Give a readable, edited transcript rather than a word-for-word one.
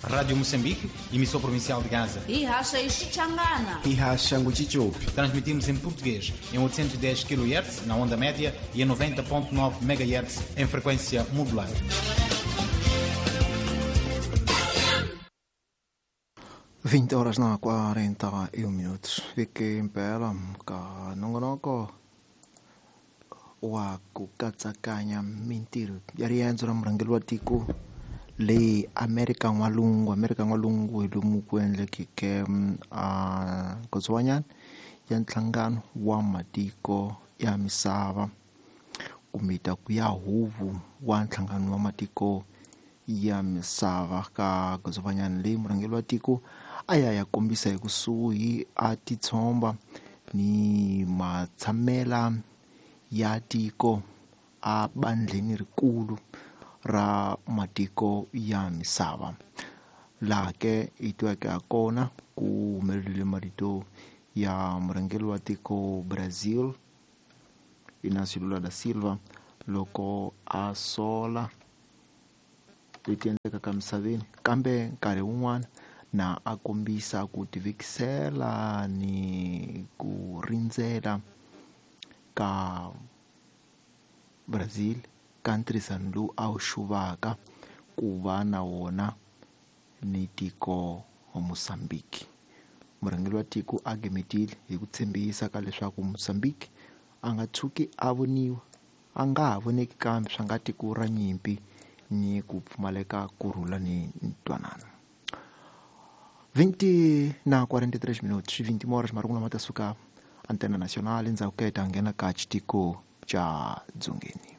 Rádio Moçambique, emissão provincial de Gaza. Ihasha Ixichangana. Ihasha Nguchichupi. Transmitimos em português em 810 kHz na onda média e em 90.9 MHz em frequência modulada. 20 horas na 41 minutos. Viki mpela ka nongonoko wa ku katsakanya mintirho ya riendzo ra murhangeri wa tiko le Amerika N'walungu. Amerika N'walungu hi lomu ku endlekeke a nkotsowanyana ya nhlangano wa matiko ya misava kumbe ta ku ya huvo wa nhlangano wa matiko ya misava ka godzovanyana leyi murhangeri wa tiko a ya ya kombisa hi kusuhi a titshomba ni matshamela ya tiko a bandleni rikulu ra matiko ya misava laha ke hi tweke ha kona ku humelerile marito ya murhangeri wa tiko Brazil Inácio Lula da Silva loko a sola leti endlekaka misaveni kambe nkarhi wun'wana na a kombisa ku tivekisela ni ku rindzela ka Brazil ka ntirhisano lowu a wu xuvaka ku va na wona ni tiko Mozambique. Murhangeri wa tiko a gimetile hi ku tshembisa ka leswaku Mozambique a nga tshuki a voniwa a nga ha voneki kambe swa nga tiko ra nyimpi ni ku pfumaleka kurhula ni ntwanano. 20 na 43 minutos, 20 horas marungu lama ta suka Antena Nacional endzhaku ka hi ta nghena ka xitiko xa Dzongeni.